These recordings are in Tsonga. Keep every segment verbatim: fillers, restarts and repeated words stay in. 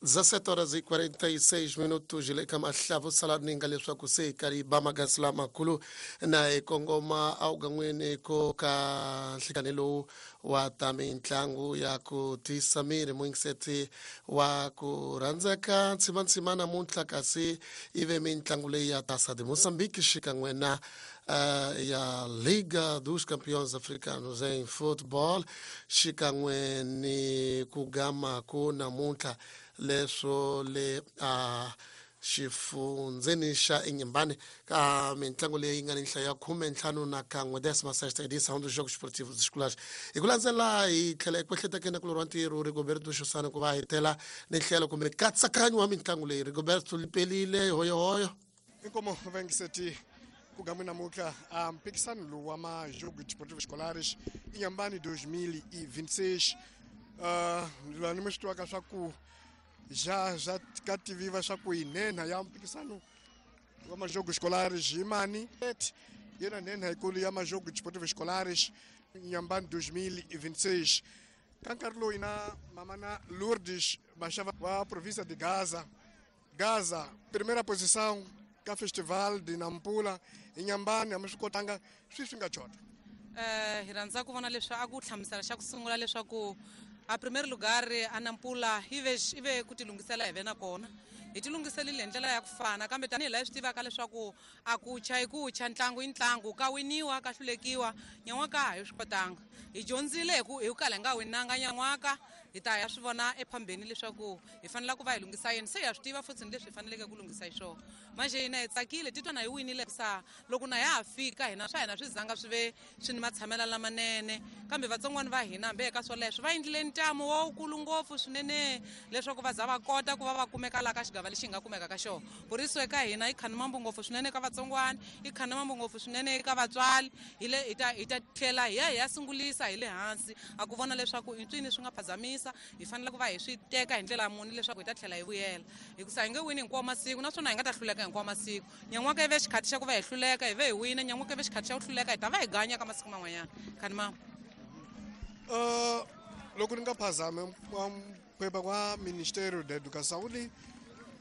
dezessete horas e quarenta e seis minutos le ka mahlavu salaninga leswaku se hi ba magasi lamakulu na hi kongoma awugan'wini ko ka nhlikani lowu wa ta mitlangu ya ku tiyisa miri muyingiseti wa ku rhandzeka ntsimantsima namuntlha kasi ive mitlangu leyi ya Taça de Moçambique xikan'we na uh, ya Liga dos Campeões Africanos em Futebol xikan'we ni ku gama ku namuntlha leswo le a xifundzeni xa Inhambane ka mitlangu leyi nga ni nhlayo ya khume ntlhanu na kan'we décima sexta edição dos Jogos Esportivos Escolares. Hi ku landzela hi tlhela eku ehletekeni ku loriwa ntirho Rigoberto Xosana ku va hetela ni nhlelo kumbe nkatsakanyo wa mitlangu leyi. Rigoberto lipelile hoyohoyo. Inkomo vengiseti kugamwe namuntlha a mpikisano lowu wa ma-Jogos Desportivos Escolares Inhambane dois mil e vinte e seis. Uh, lani mi swi tivaka swa ku já já ka tiviwa swa ku hi nhenha ya mpikisano wa ma-Jogos Escolares hi mani yena nhenha yikulu ya ma-Jogos Desportivos Escolares Inhambane dois mil e vinte e seis. Ka nkarhi lowu na mama na Lourdes Mashava wa província de Gaza. Gaza, primeira posição ka festival de Nampula Inhambane a mi swi kotanga swi swi nga chota. Eh hi rhandza ku vona leswi a ku hlamusela xa ku sungula leswaku a primeiro lugar a Nampula ive ive ku tilunghisela hi ve na kona hi tilunghiselile hi ndlela ya ku fana kambe tanihi laha hi swi tivaka leswaku a ku cha hi ku cha ntlangu i ntlangu ka winiwa ka hlulekiwa nyan'waka a hi swi kotanga hi dyondzile hi ku hi ku kala hi nga winanga nyan'waka hi ta ya swi vona ephambeni leswaku hi fanele ku va hi lunghisa yini se ha swi tiva futhi ni leswi hi faneleke ku lunghisa hi swona manje hina hi tsakile titwa na hi winile sa loko na ya ha fika hina swa hina swi zanga swi ve swi ni matshamelo lamanene kambe vatsongwana va hina hambi eka swoleswo va endlile ntamu wowukulu ngopfu swinene leswaku va za va kota ku va va kumeka laha ka xigava lexi hi nga kumeka ka xona puriso eka hina i khanimambu ngopfu swinene eka vatsongwana i khanimambu ngopfu swinene eka vatswari hi le hi ta hi ta tlhela hi ya hi ya sungulisa hi le hansi a ku vona leswaku i ncini swi nga phazamisa hi fanele ku va hi swi teka hi ndlela muni leswaku hi ta tlhela hi vuyela hikusa hi nge wini hinkwawo masiku naswona hi nga ta hluleka hinkwawo masiku nyan'waka i ve xikhathi xa ku va hi hluleka hi ve hi wina nyan'waka i ve xikhathi xa ku hluleka hi ta va hi ganya ka masiku man'wanyana khanimambu. Uh, loko ni nga phazami phepha wa Ministério da Educação li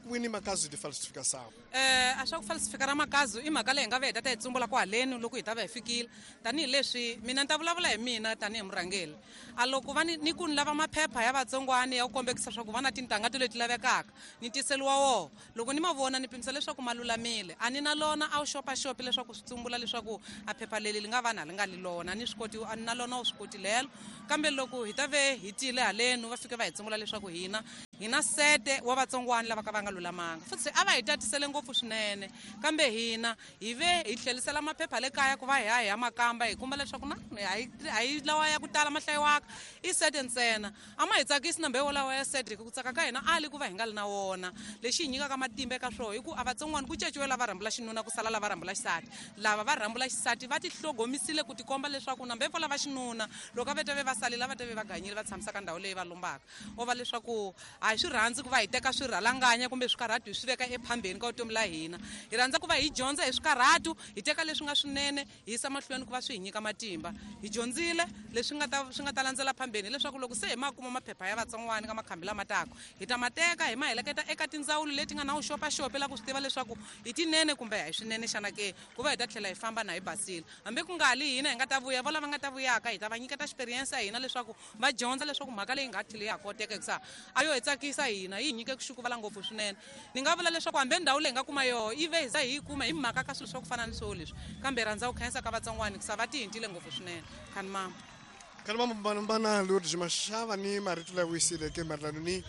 wini makazu de falsificação. Eh a swa ku falsificar makazu i mhaka leyi hi nga ve hi ta ta hi tsumbula kwaleni loko hi ta va hi fikile tanihileswi mina ni ta vulavula hi mina tanihi murhangeri a loko va ni ni ku ni lava maphepha ya vatsongwana ya ku kombekisa swa ku va na tintangha leti lavekaka ni tiseliwa woho loko ni ma vona ni pimisa leswaku ma lulamile a ni na lona a wu xopaxopi leswaku swi tsumbula leswaku a phepha leri li nga va na li nga li lona ni swi koti a ni na lona wu swi koti lelo kambe loko hi ta ve hi tile haleni va fike va hi tsumbula leswaku hina hi na sete wa vatsongwana lava ka va nga lulamanga futhi a va hi tatisele ngopfu swinene kambe hina hi ve hi tlhelisela maphepha le kaya ku va hi ya hi ya makamba hi kuma leswaku na a hi lawa ya ku tala ma hlayiwaka i sete ntsena a ma hi tsakisi na mbewu lawa ya sete hi ku tsaka ka hina a li ku va hi nga li na wona lexi hi nyikaka matimba eka swona hi ku a vatsongwana ku caciwe lava rhambula xinuna ku sala lava rhambula xisati lava va rhambula xisati va tihlogomisile ku tikomba leswaku na mbewu lava xinuna loko a ve ta ve va salile va ta ve va ganyile va tshamisa ka ndhawu leyi va lombaka o va leswaku a hi swi rhandzi ku va hi teka swirhalanganya kumbe swikarhatu hi swi veka ephambeni ka vutomi la hina hi rhandza ku va hi dyondza hi swikarhatu hi teka leswi nga swinene hi yisa mahlweni ku va swi hi nyika matimba hi dyondzile leswi nga ta swi nga ta landzela phambeni hileswaku loko se hi ma kuma maphepha ya vatsongwana ka makhambi lama taka hi ta ma teka hi ma heleketa eka tindzawulo leti nga na vuxopaxopi la ku swi tiva leswaku hi tinene kumbe a hi swinene xana ke ku va hi ta tlhela hi famba na hi basile hambi ku nga li hina hi nga ta vuya vo lava nga ta vuyaka hi ta va nyiketa experience ya hina leswaku va dyondza leswaku mhaka leyi nga tlhela ya ha koteka hikusa a yo hi tsakisa hina yi hi nyike ku xukuvala ngopfu swinene ni nga vula leswaku hambi ndhawu leyi hi nga kuma yoho yi ve hi za hi yi kuma hi mhaka ka swilo swa ku fana ni swo leswi kambe rhandza ku khensa ka vatsongwana hikusa va tihintile ngopfu swinene khanimama. Khanimama mbana Lourdes Mashava ni marito lawa wisileke mayelana ni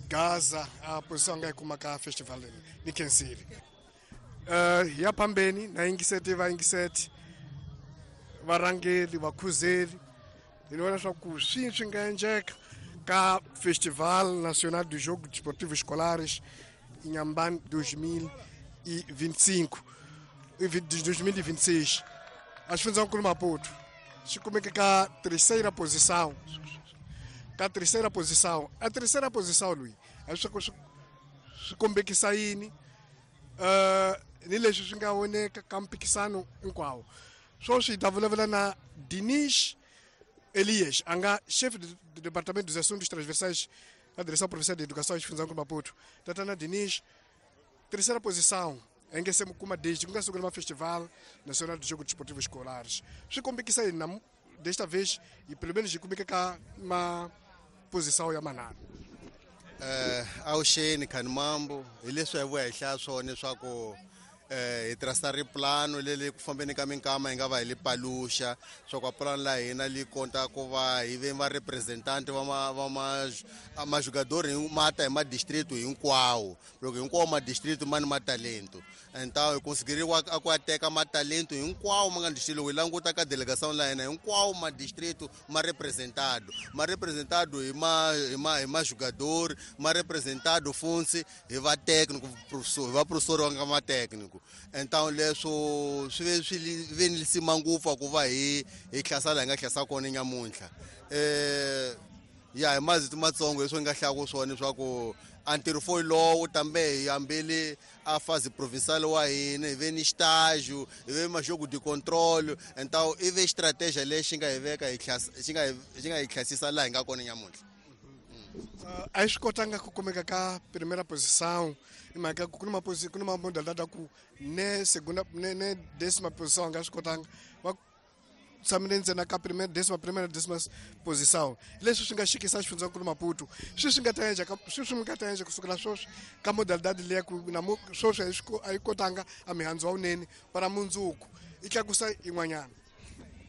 Gaza a posição nga yi kuma ka festival ni khensile. Uh, ya phambeni na yingiseti va yingiseti varhangeli vakhuzeli hi ni vona swa ku swi swi nga endleka ka Festival Nacional de Jogos Desportivos Escolares Inhambane dois mil e vinte e cinco dois mil e vinte e seis. A xifundzankulu Maputo xi kumeka ka terceira posição ka terceira posição a terceira posição loyi a swi swi swi kombekisa yini uh, ni leswi swi nga voneka ka mpikisano hinkwawo swoswi hi ta vulavula na Dinis Elias a nga chef de département dos assuntos transversais A direção provincial de educação e Xifundzankulu Maputo. Tatana Dinis, terceira posição, em que se kuma desde que uma festival nacional de jogos desportivos escolares. Swi kombekisa yini desta vez e pelo menos kumeka ka ma posição ya manana. Eh awuxeni Khanimambo, hi leswi hi vuya hi hlaya swona leswaku eh hi tirhisa riplano leri ku fambeni ka minkama hi nga va hi li paluxa swa ku pulani la hina li kota ku va hi ve va representant va ma va ma majugador ma ta hi ma district hinkwawo loko hinkwawo ma district ma ni matalento então hi consideriwa a ku teka matalento hinkwawo ma nga district loko hi languta ka delegation la hina hinkwawo ma district ma representado ma representado hi ma hi ma hi majugador ma representado funtsi hi va técnico professor va professor wa nga ma técnico. Então leswo swi ve swi ve ni lisima ngopfu ku va hi hi hlasela hi nga hlasa kona nyamuntlha eh ya hi mazito matsongo leswi nga hlaya ku swona leswaku a ntirho fo lowu tambe hi hambile a fase provincial wa hina hi ve ni estágio hi ve majogo de controle então i ve estratégia lexi nga hi veka hi xi nga xi nga hi hlasisa laha hi nga kona nyamuntlha. A swi kotanga ku kumeka ka primeira posição i mhaka ku ni maposi ku ni mamodalidade ku ne segunda ne ne décima posição nga swi kotanga va tshamile ntsena ka primeira décima primeira décima posição leswi swi nga xikisa xifundzankulu Maputo swi swi nga ta endla swi swi nga ta endla kusukela sweswi ka modalidade leya ku na sweswi a yi kotanga a mihandzu wa wunene para mundzuku i tlakusa yin'wanyana.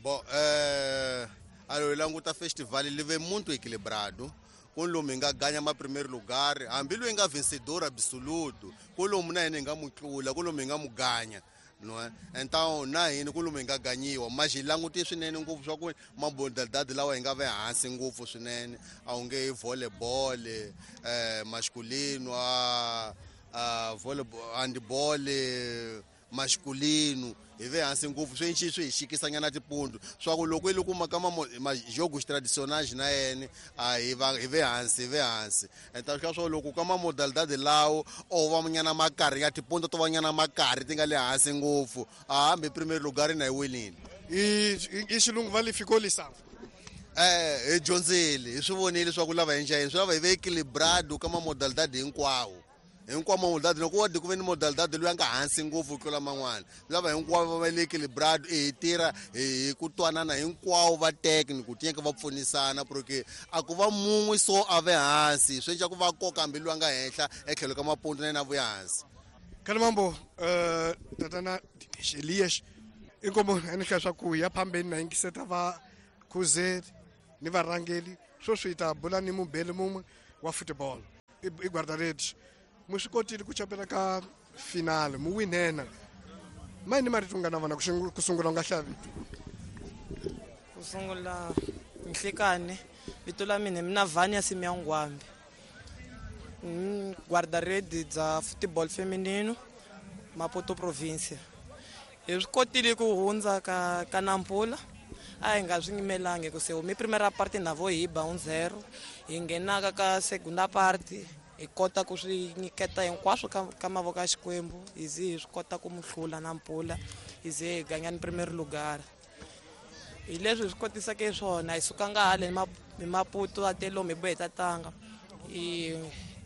Bo eh a hi languta festival li ve muito equilibrado ku lomu hi nga ganya ma primeiro lugar hambi loyi nga vencedor absoluto ku lomu na hina hi nga mu tlula ku lomu hi nga mu ganya no então na hina ku lomu hi nga ganyiwa mas hi langute swinene ngopfu swa ku mamodalidade lawa hi nga ve hansi ngopfu swinene a wu nge volleyball eh masculino a a volleyball handball masculino hi ve hansi ngopfu swi nxi swi hi xikisanyana tipundu swa ku loko i loko maka majogos tradicionais na yena a hi va hi ve hansi hi ve hansi então swa swa loko ka mamodalidade lawo o va nyana makarhi ya tipundu to va nyana makarhi ti nga le hansi ngopfu a hambi primeiro lugar na hi winile i i xilungu va li ficou lição eh hi dyondzile hi swi vonile swa ku lava hi njhani swi lava hi ve equilibrado ka mamodalidade hinkwawo hinkwawo modalidade loko wa ku ve ni modalidade loyi a nga hansi ngopfu ku tlula man'wana lava hinkwavo va le equilibrado hi tirha hi ku twanana hinkwavo va técnico tinyeke va pfunisana porque a ku va mun'we so a ve hansi swi endla ku va koka hambi loyi a nga henhla etlhelo ka mapundu na yena a vuya hansi. Khanimambo eh tatana Dinesh Elias inkomo ni hlaya swa ku ya phambeni na yingiseta va khuzeri ni varhangeli sweswi hi ta bula ni mubeli mun'we wa football i guarda-redes mu swi kotile ku chapela ka finale mu winena ma ni marito nga na vona ku sungula u nga hlaya vito ku sungula nhlikani vito la mina mina Vania Simiyangwambi guarda-redes bya football feminino Maputo province hi swi kotile ku hundza ka ka Nampula a hi nga swi nyimelangi ku se humi primera parte na vo hi ba un zero hi nghenaka ka segunda parte hi kota ku swi nyiketa hinkwaswo ka ka mavoko ya Xikwembu hi ze hi swi kota ku mu hlula Nampula hi ze hi ganya ni primeiro lugar hi leswi hi swi kotisaka swona hi sukanga hale hi Maputo a te lomu hi bohe tatanga i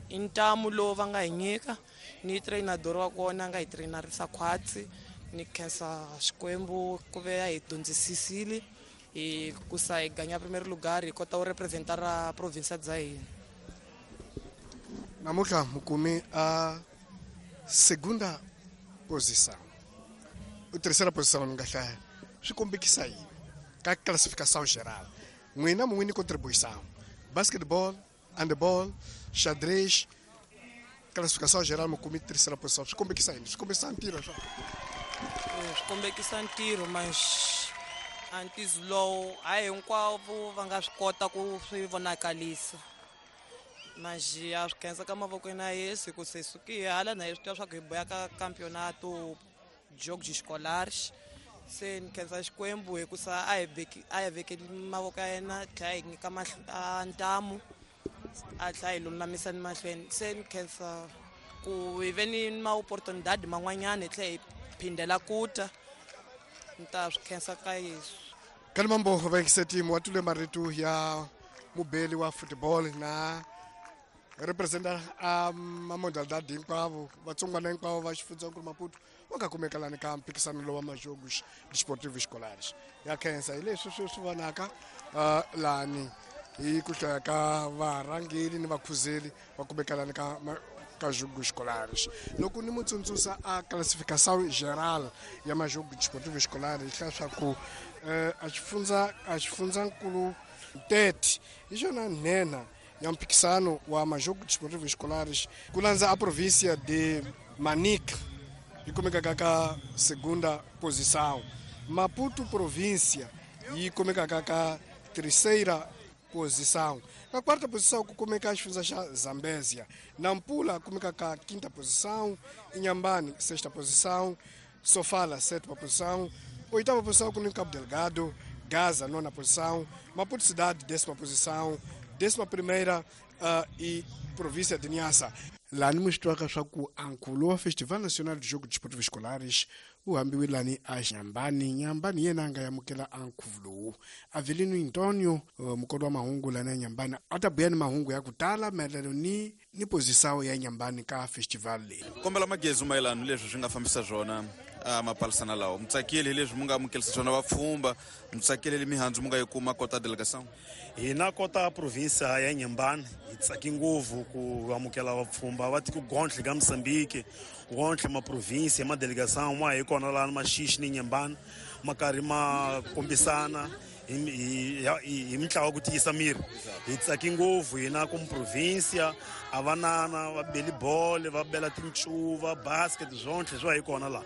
i ntamu lowu va nga hi nyika ni trainador wa kona a nga hi trainarisa khwatsi ni khensa Xikwembu ku ve a hi dyondzisisile hi ku sa hi ganya primeiro lugar hi kota ku representa ra province bya hina. Namuntlha mukumi a segunda posição o terceira posição ni nga hlaya swi kombekisa yini ka classificação geral n'wina mu wini contribuição basketball handball xadrez classificação geral mukumi terceira posição swi kombekisa yini swi kombekisa ntirho swa swi kombekisa ntirho mas a ntizo lowu a hinkwavo va nga swi kota ku swi vonakalisa mas a swi khensa ka mavokweni ya Yesu ku se suki hala na hi swi tiva swa ku hi boya ka campeonato jogos escolares se ni khensa Xikwembu hi ku sa a hi veki a hi vekeli mavoko ya yena tlhela hi nyika ntamu a tlhela hi lulamisa ni mahlweni se ni khensa ku hi ve ni ma-oportunidade man'wanyana hi tlhela hi phindela ku ta ni ta swi khensa ka Yesu. Khanimambo va yingisetimu wa tule marito ya mubeli wa football na representa a mamodalidade hinkwavo vatsongwana hinkwavo va xifundzankulu Maputo va nga kumeka lani ka mphikisano lowa majogos desportivos escolares. Ya khensa hi leswi swi swi vonaka uh, lani hi ku hlaya ka varhangeli ni vakhuzeli va kumeka lani ka ka jogos escolares. Loko ni mutsundzuxa a classificação geral ya majogos desportivos escolares hi hlaya ku a xifundza a xifundzankulu Tete hi xona nhenha ya mphikisano wa majogos desportivos escolares ku landza a província de Manica yi kumekaka ka segunda posição, Maputo província yi kumekaka ka terceira posição, na quarta posição ku kumeka xifundza xa Zambésia, Nampula kumeka ka quinta posição, Inhambane sexta posição, Sofala sétima posição, oitava posição com Cabo Delgado, Gaza nona posição, Maputo cidade décima posição, décima primeira uh, e província de Niassa. Lá no mostrou que ankulo Festival Nacional de Jogos Desportivos Escolares wu hambiwe lani a Inhambane. Inhambane yena nga yamukela ankhuvulo Avelino Antonio uh, mukoti wa mahungu lani ya Inhambane a ta buya ni mahungu ya ku tala maelano ni ni posição ya Inhambane ka festival leyi. Kombela magezi mayelana leswi swi nga fambisa swona a mapalisana lawa mutsakeli leswi mi nga amukelisa swona vapfhumba mutsakeli mihandzu mi nga yi kuma kota delegação. Hina kota província ya Inhambane hi tsaki ngopfu ku amukela vapfhumba va tiko gontlhe ka Mozambique gontlhe ma província ma delegação ma hi kona lana Maxixi ni Inhambane ma karhi ma kombisana hi hi mitlawa ku tiyisa miri. Hi tsaki ngopfu hina ku província a vanana va beli bolo va bela tincuva basket swontlhe swa hi kona la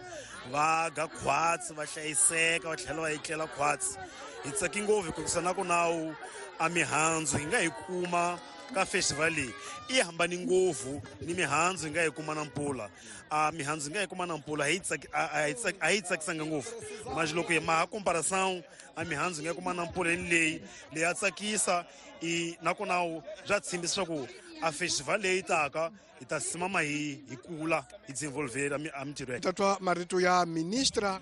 va ga khwatsi va hlayiseka va tlhela va etlela khwatsi. Hi tsaki ngopfu hikuva na ku nawu a mihandzu hi nga yi kuma ka festival leyi i hambani ngopfu ni mihandzu hi nga yi kuma Nampula. A mihandzu hi nga yi kuma Nampula a yi tsaki a yi tsakisanga ngopfu mas loko hi maha comparação a mihandzu hi nga yi kuma Nampula ni leyi leyi ya tsakisa i nakona bya tshembisa ku a festival leyi taka hi ta simama hi hi kula hi desenvolver a mintirho. Tatwa marito ya ministra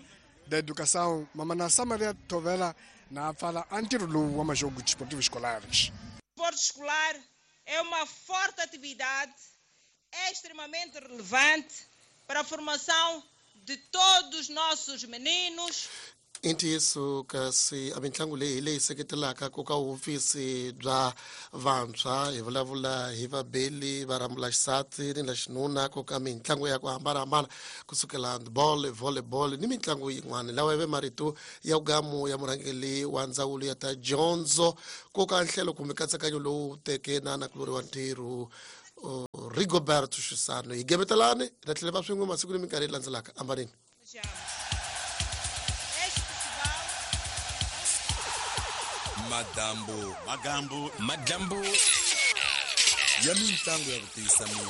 da Educação Mamana Samaria Tovela na fala a ntirho lowu wa majogos desportivos escolares. O esporte escolar é uma forte atividade extremamente relevante para a formação de todos os nossos meninos. I ntiyiso kasi a mitlangu leyi leyi seketelaka ku ka hofisi bya vantshwa hi vulavula hi vabeli va rambula xisati ni la xinuna ku ka mitlangu ya ku hambanahambana kusukela handball, volleyball ni mitlangu yin'wana. Lawa ya ve marito ya gamu ya murhangeri wa ndzawulo ya ta dyondzo ku ka nhlelo kumbe nkatsakanyo lowu teke na nakulori wa ntirho Rigoberto Xisano. Hi gevetelani hi ta tlhela va swin'we masiku ni minkarhi leyi landzelaka. Ambanini. Madambu, magambu, madambu ya mitlangu ya ku tiyisa miri.